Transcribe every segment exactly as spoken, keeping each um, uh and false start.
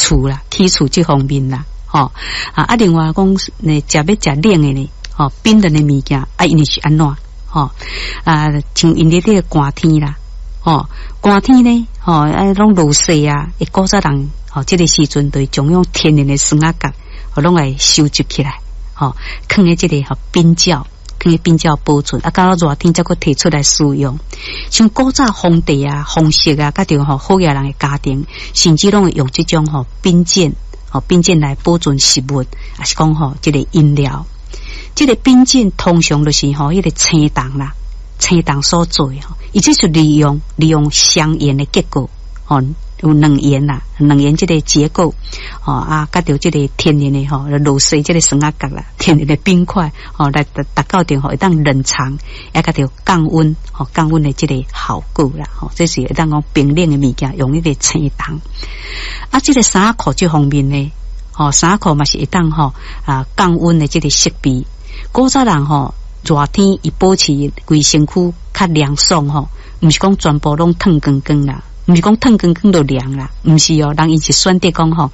厝啦，起厝這方面啦，吼啊啊！另外講，呢食欲食冷的呢，吼冰冷的物件啊，𪜶是按怎？吼啊，像𪜶咧這個寒天啦，吼寒天呢，吼啊攏落雪啊，古早人吼這個時陣就會將用天然的酸仔角，吼攏來收集起來，吼囥佇這個吼冰窖。囥佇冰窖保存，啊，到熱天才閣提出來使用。像古早皇帝啊、皇室啊，佮著吼好額人的家庭，甚至攏會用這種吼冰鑑，吼冰鑑來保存食物，抑是講吼這個飲料。這個冰鑑通常就是吼彼個青銅啦，青銅所做的吼，伊這是利用利用雙鹽的結構，吼有兩鹽啦，兩鹽這個結構，吼啊，佮著這個天然的吼落雪這個酸仔角啦，天然的冰塊，吼來達達到著吼會當冷藏，也佮著降溫，吼降溫的這個效果啦，吼這是會當講冰冷的物件，用彼個青銅。啊，這個衫仔褲這方面呢，吼衫仔褲嘛是會當吼啊降溫的這個設備。古早人吼熱天伊保持規身軀較涼爽吼，毋是講全部攏脫光光啦。毋是講脫光光就涼啦，毋是哦，人𪜶是選擇講吼，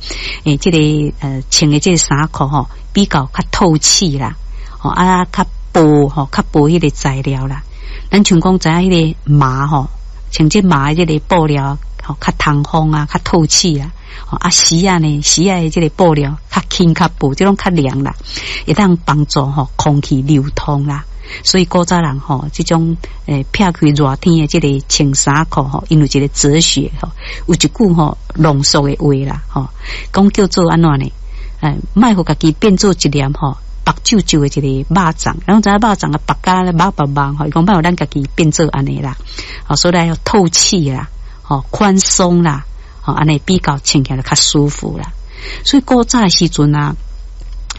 欸，這個呃穿的這個衫褲吼比較較透氣啦，吼啊較薄吼，較薄彼個材料啦。咱像講知影彼個麻吼，穿這麻的這個布料吼較通風啊，較透氣啊。啊絲仔呢，絲仔的這個布料較輕較薄，這種較涼啦，會當幫助吼空氣流通啦。所以古早人吼，這種欸撇開熱天的這個穿衫褲吼，𪜶有一個哲學吼，有一句吼濃縮的話啦吼，講叫做按怎呢？欸，莫予家己變做一粒吼白皺皺的一個肉粽，然後知影肉粽啊白甲肉白目吼，伊講莫予咱家己變做按呢啦，吼所以要透氣啦，吼寬鬆啦，吼按呢比較穿起來較舒服啦。所以古早的時陣啊，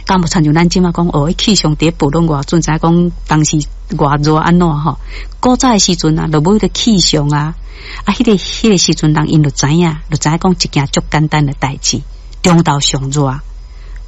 敢無親像咱這馬講哦，氣象佇咧報論偌準，知影講當時偌熱按怎吼？古早的時陣啊，就無彼個氣象啊，啊，彼個彼個時陣人𪜶就知影，就知影講一件足簡單的代誌，中晝上熱，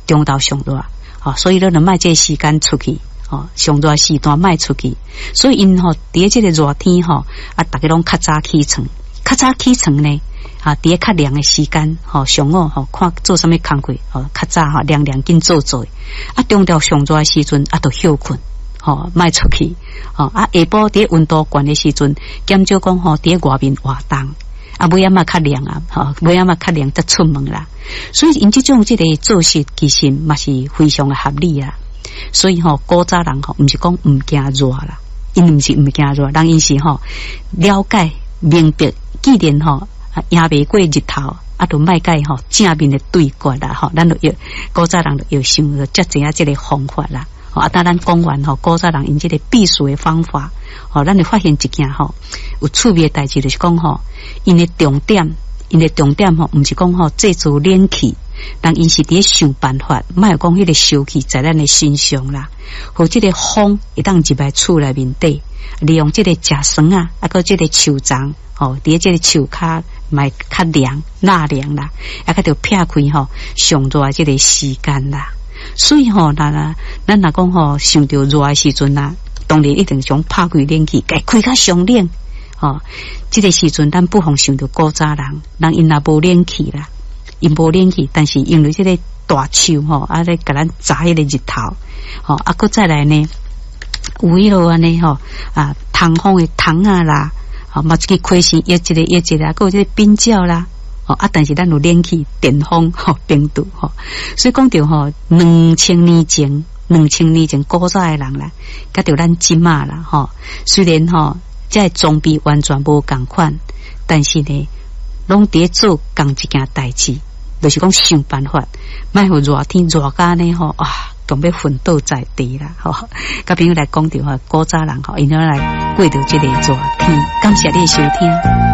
中晝上熱，吼，所以你就莫這個時間出去，吼，上熱時段莫出去，所以𪜶吼佇這個熱天吼，啊，逐家攏較早起床，較早起床呢。啊，佇咧較涼的時間，吼，上午吼看做啥物工課，吼，較早吼涼涼緊做做。啊，中晝上熱的時陣，啊，就歇睏，吼，莫出去，吼，啊，下晡佇咧溫度懸的時陣，減少講吼佇咧外面活動，啊，尾仔嘛較涼啊，吼，尾仔嘛較涼才出門啦。所以𪜶這種這個做事其實嘛是非常的合理啊。所以吼，古早人吼，毋是講毋驚熱啦，𪜶毋是毋驚熱，人𪜶是吼了解明白，既然吼贏袂過日頭，啊，就莫共伊吼正面的對決啦，吼，咱就會古早人就會想著才知影這個方法啦。啊，當咱講完吼，古早人𪜶這個避暑的方法，吼，咱會發現一件吼有趣味的代誌，就是講吼，𪜶的重點，𪜶的重點吼，毋是講吼製造冷氣，人𪜶是佇咧想辦法，莫講彼個燒氣在咱的身上啦，予這個風會當入來厝內面底，利用這個食酸仔，啊，閣這個樹叢，吼，佇咧這個樹跤嘛會較涼、納涼啦，啊，閣著撇開吼上熱的這個時間啦。所以吼，咱啊，咱若講吼，想著熱的時陣啊，當然一定想拍開冷氣，共開較上冷。吼，這個時陣咱不妨想著古早人，人𪜶若無冷氣啦，𪜶無冷氣，但是因為這個大樹吼，啊咧共咱遮彼個日頭，吼，啊，閣再來呢，有彼落按呢吼，啊，通風的窗仔啦，吼，嘛一個開扇，一個一個啦，閣有這個冰窖啦。吼啊！但是咱有冷氣、電風、吼冰柱吼，所以講著吼兩千年前，兩千年前古早的人啦，佮著咱這馬啦吼。雖然吼這個裝備完全無仝款，但是呢，攏佇咧做仝一件代誌，就是講想辦法，莫予熱天熱甲按呢吼啊，強欲昏倒在地啦吼。佮朋友來講著吼，古早人吼，𪜶怎來過著這個熱天？感謝你的收聽。